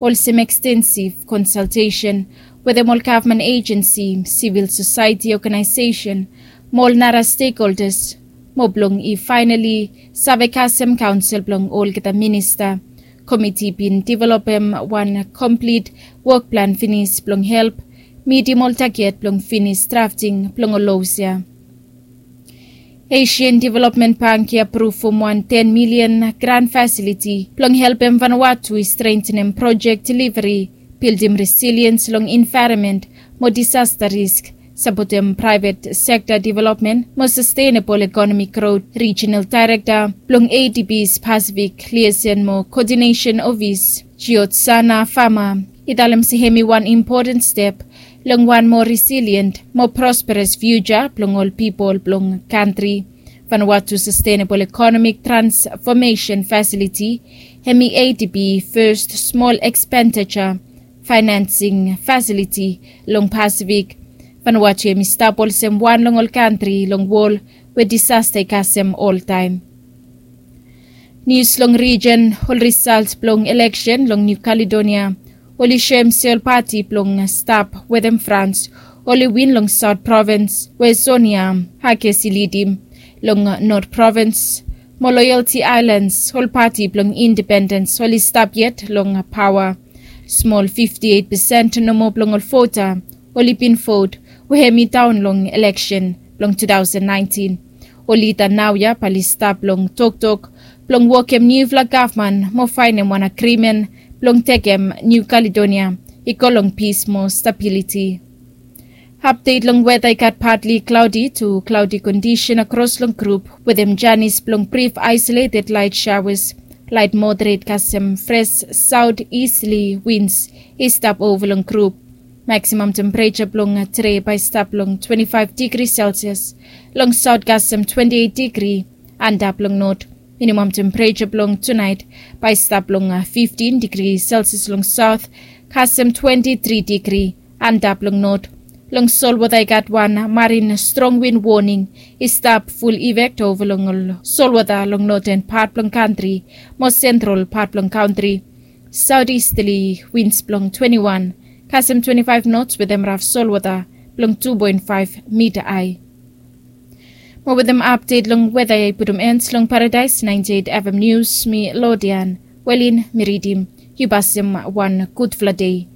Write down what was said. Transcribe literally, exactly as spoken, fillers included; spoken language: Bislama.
Olsem ekstensif konsaltesen wetem ol gavman ejensi, sivil sosaeti ogenaesesen mo ol nara stekholdas, mo blong i faenali save kasem kaonsel blong olgeta minista. Komiti bin developem wan komplit wokplan finis blong help mitim ol taget blong finis drafting blong ol los ya. Asian Development Bank i apruvum wan ten milian gran fasiliti blong helpem Vanuatu i strentenem projek deliveri, bildim resiliens long envaeronmen mo disasta risk, sapotem praevet sekta developmen mo sastenabol ekonomik grot. Rijinal daerekta blong ADB's Pasifik Liasen mo Koodinesen Ofis, Jiotsana Fama, i talem se hemi wan impoten step long wan moa resilient, moa prosperas fiuja blong ol pipol blong kantri. Vanuatu Sastenabol Ekonomik Transfomesen Fasiliti, hemi ADB fes smol ekspendija faenansing fasiliti long Pasifik. Vanuatu hemi stap olsem wan long ol kantri long wol we disasta i kasem oltaem. Nius long rijin. Ol risalt blong eleksen long Niu Kaledonia oli soem se ol pati blong stap wetem Frans oli win long Saot Provins we Sonia Hakes i lidim. Long Not Provins mo Loyalty Aelans, ol pati blong indipendens oli stap yet long paoa. Smol fifti eit pesen nomo blong ol vota oli bin vot we hemi daon long eleksen blong tu taosen naentin. Ol lida naoia bae oli stap long toktok blong wokem niufala gavman mo faenem wan agrimen blong tekem Niu Kaledonia i go long pis mo stabiliti. Apdet long weta. I gat patli klaodi tu klaodi kondisen akros long grup wetem janis blong brif aesoleted laet saoas. Laet moderet kasem fres saotisterli wins i stap ova long grup. Maksimam tempereja blong tede bae i stap long twenti faef digri selsias long saot kasem twenti eit digri antap long not. Minimam tempereja blong tunaet bae i stap long fiftin digri selsias long saot kasem twenti tri digri antap long not. Long solwota i gat wan marin strong win woning i stap ful ifek ova long ol solwota long noten pat blong kantri mo sentral pat blong kantri. Saotisterli wins blong twenti wan kasem twenti faef nots wetem raf solwota blong tu poen faef mita ae. Mo wetem apdet long weta ya i putum ens long Paradaes naenti eit FM Nius, mi Lodian Welin mi ridim. Yu pasem wan gudfala dei.